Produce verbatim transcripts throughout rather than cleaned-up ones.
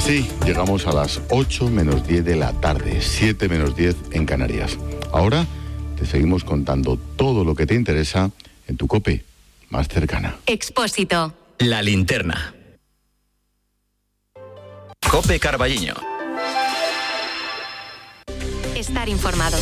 Sí, llegamos a las ocho menos diez de la tarde, siete menos diez en Canarias. Ahora te seguimos contando todo lo que te interesa en tu COPE más cercana. Expósito. La linterna. COPE Carballiño. Estar informado.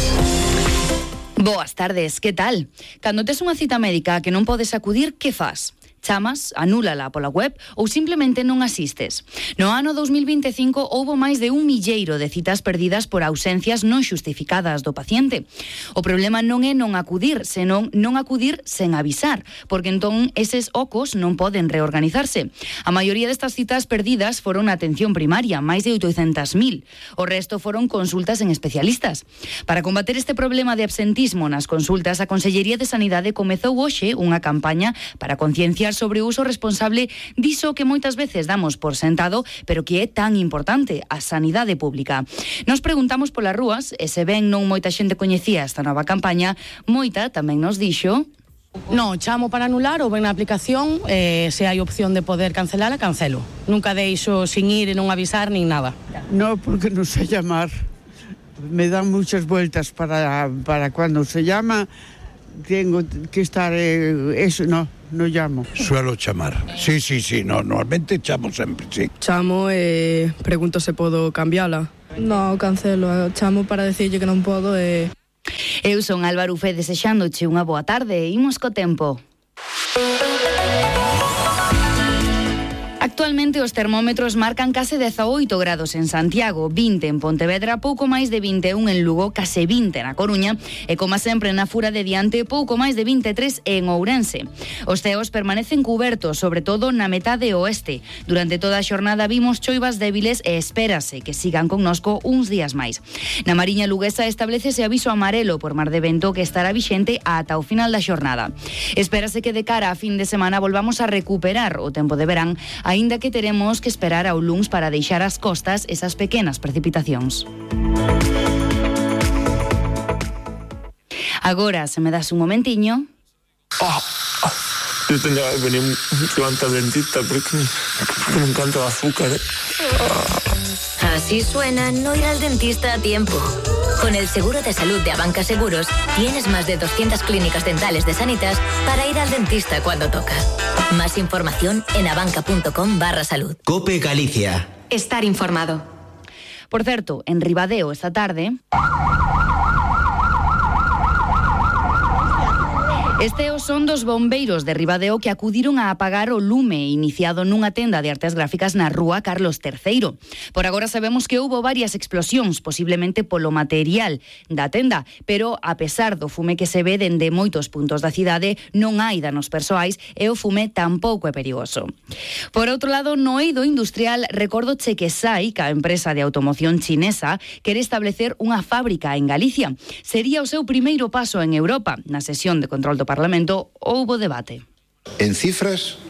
Boas tardes, que tal? Cando tes unha cita médica que non podes acudir, que fas? Chamas, anúlala pola web ou simplemente non asistes. No ano dos mil vinte e cinco houbo máis de un milleiro de citas perdidas por ausencias non xustificadas do paciente. O problema non é non acudir, senón non acudir sen avisar, porque entón eses ocos non poden reorganizarse. A maioría destas citas perdidas foron na atención primaria, máis de oitocentas mil. O resto foron consultas en especialistas. Para combater este problema de absentismo nas consultas, a Consellería de Sanidade comezou hoxe unha campaña para concienciar sobre o uso responsable diso que moitas veces damos por sentado, pero que é tan importante, a sanidade pública. Nos preguntamos polas rúas, e se ben non moita xente coñecía esta nova campaña, moita tamén nos dixo... No, chamo para anular ou ben na aplicación, eh, se hai opción de poder cancelala, cancelo. Nunca deixo sin ir e non avisar nin nada. No, porque non sé llamar. Me dan muchas vueltas para, para cuando se llama, tengo que estar, eh, eso no. No llamo. Suelo chamar. Sí, sí, sí, no, normalmente chamo sempre, sí. Chamo e eh, pregunto se podo cambiala. No, cancelo, chamo para decirlle que non podo e... Eu son Álvaro Ufé desexándoche unha boa tarde. Imos co tempo. Actualmente os termómetros marcan case dezaoito grados en Santiago, vinte en Pontevedra, pouco máis de vinte e un en Lugo, case vinte na Coruña e, como sempre, na Fura de Diante, pouco máis de vinte e tres en Ourense. Os ceos permanecen cubertos, sobre todo na metade oeste. Durante toda a xornada vimos choivas débiles e espérase que sigan connosco uns días máis. Na Mariña Luguesa establecese aviso amarelo por mar de vento que estará vixente ata o final da xornada. Espérase que de cara a fin de semana volvamos a recuperar o tempo de verán, aínda que teremos que esperar ao luns para deixar as costas esas pequenas precipitacións. Agora, se me das un momentiño... Oh, oh, yo tenía que venir antes al dentista porque me encanta el azúcar. ¿eh? Así suena no ir al dentista a tiempo. Con el seguro de salud de Abanca Seguros, tienes más de doscientas clínicas dentales de Sanitas para ir al dentista cuando toca. Más información en abanca.com barra salud. COPE Galicia. Estar informado. Por certo, en Ribadeo esta tarde... Este son dos bombeiros de Ribadeo que acudiron a apagar o lume iniciado nunha tenda de artes gráficas na rúa Carlos terceiro. Por agora sabemos que houbo varias explosións, posiblemente polo material da tenda, pero a pesar do fume que se ve dende moitos puntos da cidade, non hai danos persoais e o fume tampouco é perigoso. Por outro lado, no eido industrial, recordo che que Sai, que a empresa de automoción chinesa, quere establecer unha fábrica en Galicia. Sería o seu primeiro paso en Europa. Na sesión de control do Parlamento houbo debate. En cifras,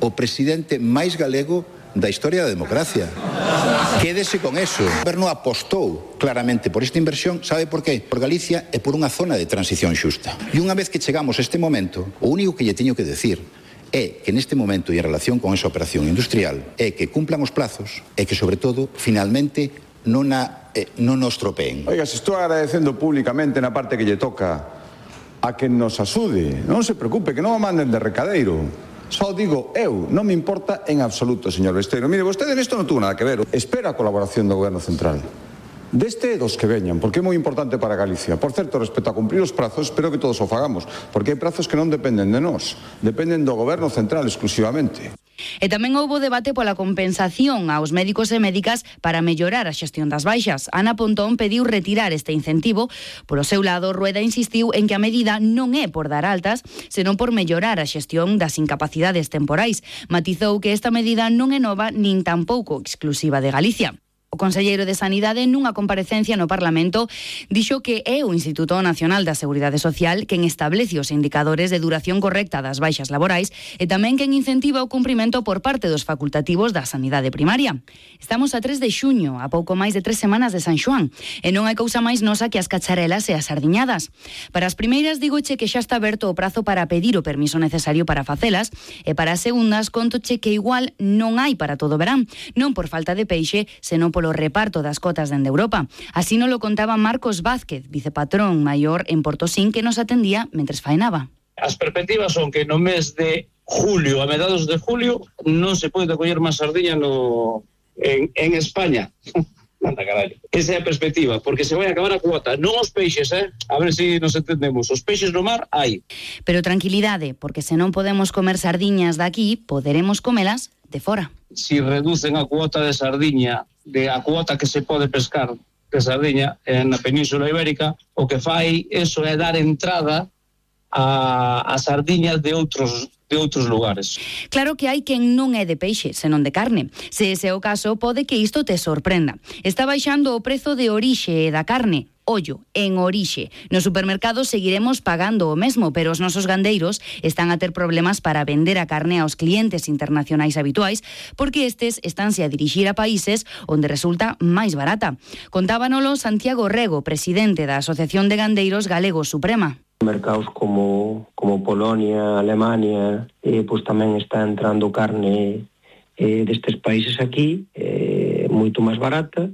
o presidente máis galego da historia da democracia. Quédese con eso. O goberno apostou claramente por esta inversión. Sabe por qué? Por Galicia e por unha zona de transición xusta. E unha vez que chegamos a este momento, o único que lle teño que decir é que neste momento e en relación con esa operación industrial é que cumplan os plazos e que, sobre todo, finalmente non, a, eh, non nos tropeen. Oiga, se estou agradecendo públicamente na parte que lle toca a que nos asude, non se preocupe, que non o manden de recadeiro. Só digo eu, non me importa en absoluto, señor Besteiro. Mire, vostede nesto non tuvo nada que ver. Espera a colaboración do Goberno Central. Deste dos que veñan, porque é moi importante para Galicia. Por certo, respecto a cumprir os prazos, espero que todos o fagamos, porque hai prazos que non dependen de nós, dependen do Goberno Central exclusivamente. E tamén houbo debate pola compensación aos médicos e médicas para mellorar a xestión das baixas. Ana Pontón pediu retirar este incentivo. Por o seu lado, Rueda insistiu en que a medida non é por dar altas, senón por mellorar a xestión das incapacidades temporais. Matizou que esta medida non é nova nin tampouco exclusiva de Galicia. O conselleiro de Sanidade, nunha comparecencia no Parlamento, dixo que é o Instituto Nacional da Seguridade Social quen establece os indicadores de duración correcta das baixas laborais e tamén quen incentiva o cumprimento por parte dos facultativos da sanidade primaria. Estamos a tres de xuño, a pouco máis de tres semanas de San Xoán, e non hai cousa máis nosa que as cacharelas e as sardiñadas. Para as primeiras, digoche que xa está aberto o prazo para pedir o permiso necesario para facelas, e para as segundas, contoche que igual non hai para todo o verán, non por falta de peixe, senón polo reparto das cotas dende Europa. Así nos lo contaba Marcos Vázquez, vicepatrón maior en Portosín, que nos atendía mentres faenaba. As perspectivas son que no mes de julio, a mediados de julio, non se pode coller máis sardiña no, en, en España. Anda, carallo. Esa é a perspectiva, porque se vai acabar a cuota. Non os peixes, eh? A ver se nos entendemos. Os peixes no mar hai. Pero tranquilidade, porque se non podemos comer sardiñas daqui, poderemos comelas de fora. Si reducen a cuota de sardiña, de a cuota que se pode pescar de sardiña na Península Ibérica, o que fai eso é dar entrada a, a sardiñas de outros de outros lugares. Claro que hai quen non é de peixe, senón de carne. Se ese é o caso, pode que isto te sorprenda. Está baixando o prezo de orixe da carne. Ollo, en orixe. Nos supermercados seguiremos pagando o mesmo, pero os nosos gandeiros están a ter problemas para vender a carne aos clientes internacionais habituais, porque estes estánse a dirixir a países onde resulta máis barata. Contábanolo Santiago Rego, presidente da Asociación de Gandeiros Galegos Suprema. Mercados como, como Polonia, Alemania, eh, pues tamén está entrando carne eh, destes países aquí, eh, moito máis barata,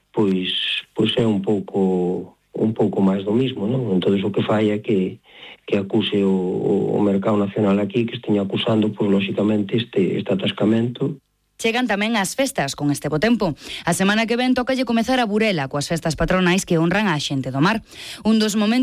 pois, pois é un pouco un pouco máis do mismo, non? Entón, o que fai é que, que acuse o, o mercado nacional aquí, que esteña acusando, pois, lóxicamente, este, este atascamento. Chegan tamén as festas con este bo tempo. A semana que ven tócalle comezar a Burela coas festas patronais que honran a xente do mar. Un dos momentos